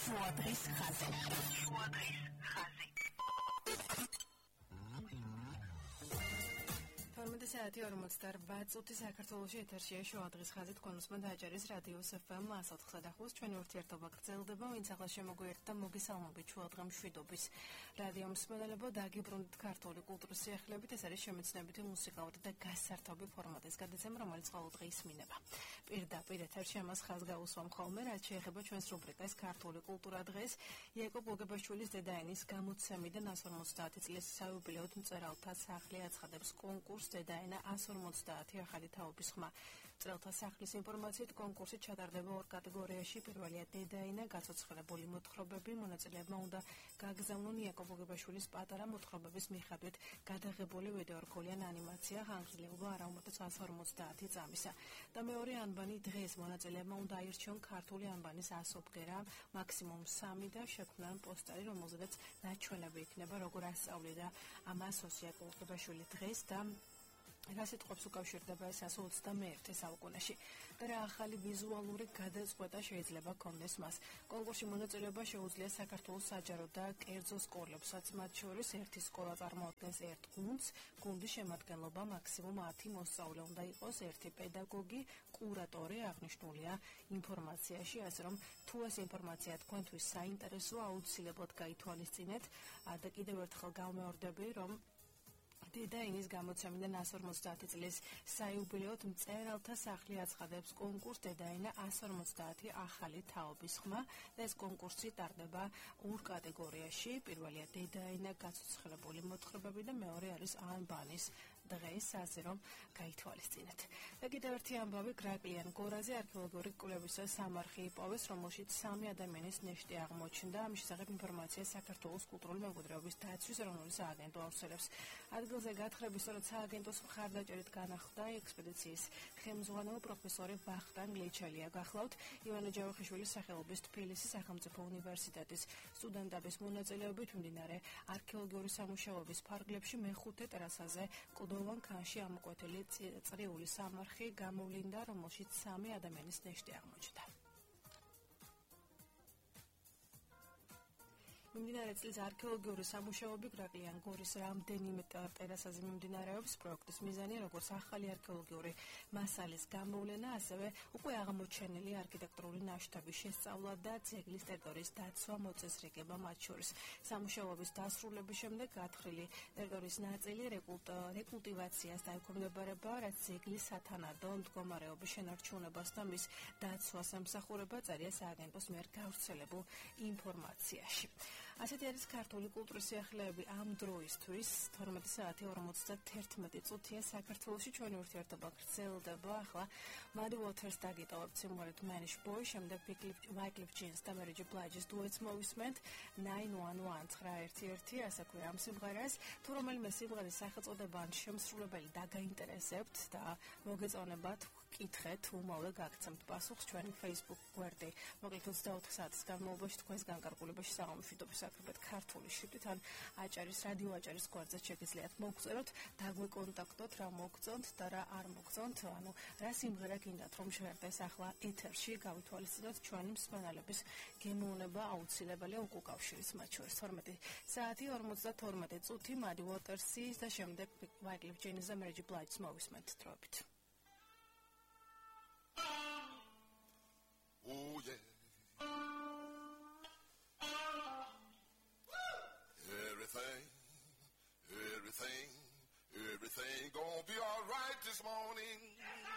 შუადღის ხაზი. საათი 48 წუთი საქართველოში ეთერშია შუადღის ხაზი თქვენ უსმენთ აჭარის რადიოს FM 104.5 ჩვენი ურთიერთობა გრძელდება ვინც ახლა შემოგვიერთდა და მოგესალმებით შუადღე მშვიდობის რადიო მსმენელებო დაგიბრუნდით ქართული კულტურის სიახლეებით ეს არის შემეცნებითი მუსიკალური და გასართობი ფორმატის გადაცემა რომელიც ყოველდღე ისმინება პირდაპირ ეთერში ამას ხაზს გაუსვამ ხოლმე რაც შეეხება ჩვენს რუბრიკას ქართული კულტურა დღეს იაკობ გოგებაშვილის დედაენის გამოცემიდან 150 წლის საიუბილეოდ მწერალთა სახლი აცხადებს კონკურსს დედაენა 150 ახალი თაობის ხმა. მწერალთა სახლის ინფორმაციით კონკურსი ჩატარდება ორ კატეგორიაში. პირველია დედაენა, გაცოცხლებული მოთხრობები, მონაწილეებმა უნდა გაგზავნონ იაკობ გოგებაშვილის პატარა მოთხრობების მიხედვით გადაღებული ვიდეორგოლიან ანიმაცია ხანგრძლივობა არა უმეტეს 150 წამისა. და მეორე ანბანი დღეს მონაწილეებმა უნდა აირჩიონ ქართული ანბანის ასობგერა, მაქსიმუმ 3 და შექმნან პოსტერი, რომელზედაც ნაჩვენები იქნება როგორ ასწავლიდა ამას იაკობ გოგებაშვილი დღეს და რას იტყობს უკავშირდება ეს 121 საუკუნეში და რა ახალი ვიზუალური გადაწყვეტა შეიძლება კონდეს მას. კონკურსში მონაწილეობა შეუძლია საქართველოს საჯარო და კერძო სკოლებსაც, მათ შორის ერთი სკოლა წარმოადგენს ერთ გუნდს, გუნდის შემადგენლობა მაქსიმუმ 10 მოსწავლე უნდა იყოს, ერთი პედაგოგი, კურატორი აღნიშნულია ინფორმაციაში, ასე რომ თუ ეს ინფორმაცია თქვენთვის საინტერესოა, აუცილებლად გაითვალისწინეთ და კიდევ ერთხელ გამეორდები, რომ დედაენის გამოცემიდან 150 წლის საიუბილეოდ მწერალთა სახლი აცხადებს კონკურსს დედაენა 150 ახალი თაობის ხმა და ეს კონკურსი ტარდება ორ კატეგორიაში. პირველია დედაენა, გაცოცხლებული მოთხრობები და მეორე არის ანბანის დღეს, ასე რომ გაითვალისწინეთ. და კიდევ ერთი ამბავი გრაკლიან გორაზე არქეოლოგიური კვლევისა სამარხი იპოვეს, რომელშიც 3 ადამიანის ნეშტი აღმოჩნდა. ამის შესახებ ინფორმაცია საქართველოს კულტურული მემკვიდრეობის დაცვის ეროვნული სააგენტო აუცილებს. ადგილზე გათხრების სწორედ სააგენტოს მხარდაჭერით განახლდა ექსპედიციის ხელმძღვანელი პროფესორი ვახტანგ ლეჩალია. გახლავთ ივანე ჯავახიშვილის სახელობის თბილისის სახელმწიფო უნივერსიტეტის სტუდენტების მონაწილეობით მიმდინარე არქეოლოგიური სამუშაოების ფარგლებში მეხუთე ტერასაზე კლდოვან ქანში ამოკვეთილი წრიული სამარხი გამოვლინდა, რომელშიც 3 ადამიანის ნეშტი აღმოჩნდა. მიმდინარე წლის არქეოლოგიური სამუშაოები გრაკლიან გორის რამდენიმე ტერასაზე მიმდინარეობს. პროექტის მიზანი როგორც ახალი არქეოლოგიური მასალის გამოვლენა, ასევე უკვე აღმოჩენილი არქიტექტურული ნაშთების შესწავლა და ძეგლის ტერიტორიის დაცვა, მოწესრიგება მათ შორის. სამუშაოების დასრულების შემდეგ გათხრილი ტერიტორიის ნაწილი რეკულტივაციას დაექვემდებარება, რაც ძეგლის სათანადო მდგომარეობის შენარჩუნებას და მის დაცვას ემსახურება, წერია სააგენტოს მიერ გავრცელებულ ინფორმაციაში. ასეთი არის ქართული კულტურის სიახლეები ამ დროისთვის 12 საათი 51 წუთია საქართველოში ჩვენი ურთიერთობა გრძელდება. ახლა Muddy Waters დაგიტოვებთ სიმღერით Manish Boy, შემდეგ Wyclef Jeans და Mary J. Blige's duets მოვისმენთ 911 ასე ქვია ამ სიმღერას. თუ რომელიმე სიმღერის სახელწოდება ან შემსრულებელი დაგაინტერესებთ და მოგეწონებათ, კითხეთ, უმალე გაგცემთ პასუხს ჩვენი Facebook გვერდი. მოკლედ 24 საათის განმავლობაში თქვენს განკარგულებაში საღამოშვიდობის აკრებეთ ქართული შრიფტით ან აჭარის რადიო აჭარის გვერდზე შეგიძლიათ მოგწეროთ, დაგვეკონტაქტოთ, რა მოგწონთ და რა არ მოგწონთ, ანუ რა სიმღერა გინდათ რომ შევერდეს ახლა ეთერში, გავითვალისწინოთ ჩვენი მსმენელების გემოვნება აუცილებელია უკავშირის მათ შორის 12 საათი 52 წუთი Muddy Waters-ის და შემდეგ Wyclef Jeans და Mary J. Blige's მოვისმენთ დროებით. Oh yeah. Everything gonna be all right this morning.